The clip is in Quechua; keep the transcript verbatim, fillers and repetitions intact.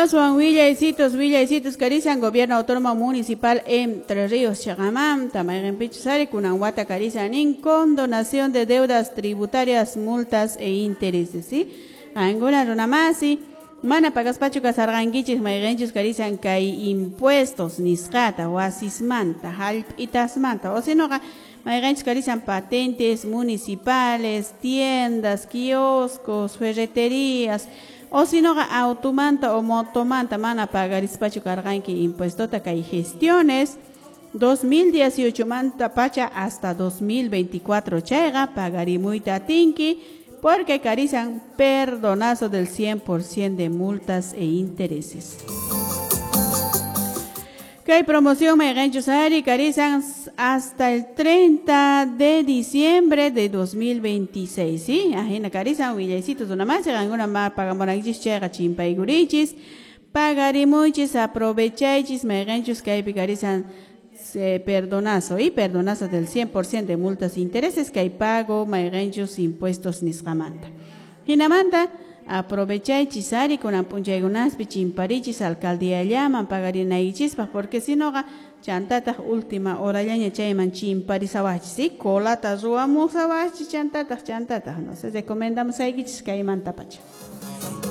Aswan willaycitos, willaycitos karisan Gobierno Autónomo Municipal Entre Ríos chiqamanta mayqinpichus ari kunan wata karisan nin condonación de deudas tributarias, multas e intereses, ¿sí? Qankuna runamasi mana pagaspachu kasarqankichis mayqinchus karisan kay impuestos nisqata wasismanta hallp'itasmanta o sinoqa mayqinchus karisan patentes municipales, tiendas, kioscos, ferreterías o sinoqa automanta o motomanta mana pagarispachu karqanki impuestota kay gestiones dos mil dieciocho manta pacha hasta dos mil veinticuatro chayqa pagarimuyta atinki porque karisan perdonazo del cien por ciento de multas e intereses. Kay promoción mayqinchus ari karisan hasta el treinta de diciembre de dos mil veintiséis, ¿sí? Ajina karisan willaycitos runamasi qankuna ma pagamunankichis chayqa chimpaykurichis pagarimuychis aprovechaychis mayqinchus kaypi karisan eh, perdonazo y perdonazo del cien por ciento de multas e intereses kay pago mayqinchus impuestos nisqamanta. Hinamanta aprovechaychis ari kunan p'unchaykunaspi chimparichis alcaldía llaman pagarinaykichispaq porque si noqa chantataq última horallaña chayman chimparisawachis, ¿sí? Colata ruwamusawachis chantataq chantataq no sé recomendamusaykichis kaymanta pacha.